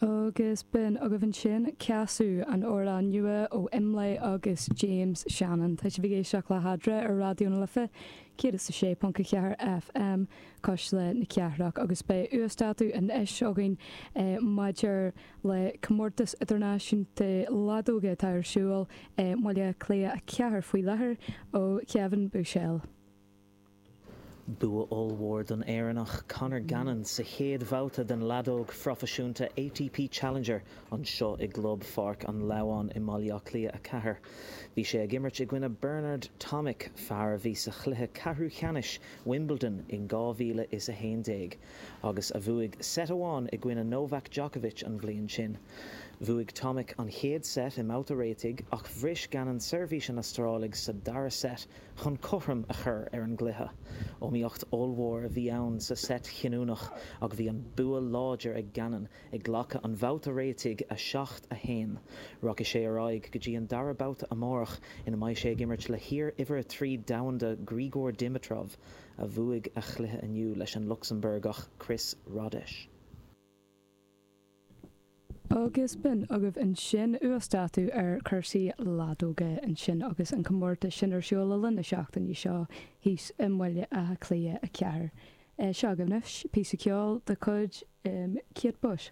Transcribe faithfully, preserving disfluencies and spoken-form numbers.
Agus b'in agaibh ansin Ceasú, an amhrán nua ó Imlé agus James Shannon. Tá sibh ag éisteacht le hEadra ar Raidió na Life céad is a sé ponc a ceathair FM, Cuisle na Cathrach agus beidh uasdátú anois againn maidir le comórtas idirnáisiúnta leadóige atá ar siúl i mBaile Átha Cliath a ceathair faoi láthair ó Kevin Bushell. Bua ollmhór don Éireannach Conor Gannon sa chéad bhabhta den leadóg phroifisiúnta ATP Challenger anseo i gClub Pháirc an Lamháin i mBaile Átha Cliath a ceathair. Bhí sé ag imirt i gcoinne Bernard Tomic, fear a bhí sa chluiche ceathrú ceannais Wimbledon in dhá mhíle is a haon déag agus a bhuaigh set amháin i gcoinne Novak Djokovic an bhliain sin. Bhuaigh Tomic an chéad set i mbabhta réitigh ach bhris Gannon seirbhís an Astrálaigh sa dara set chun cothrom a chur ar an gcluiche. Iomaíocht ollmhór a bhí ann sa set chinniúnach ach bhí an bua láidir ag Gannon ag glacadh an bhabhta réitigh a seacht a haon. Rachaidh sé ar aghaidh go dtí an dara babhta amárach ina mbeidh sé ag imirt le hiar-uimhir a trí domhanda Grigor Dimitrov a bhuaigh a chluiche inniu leis an Lucsamburgach Chris Rodesch. Agus b'in agaibh ansin uasdátú ar chúrsaí leadóige ansin agus an comórtas sin ar siúl le linn na seachtaine seo thíos i mBaile Átha Cliath a ceathair. Seo agaibh anois píosa ceoil de chuid Kate Bush.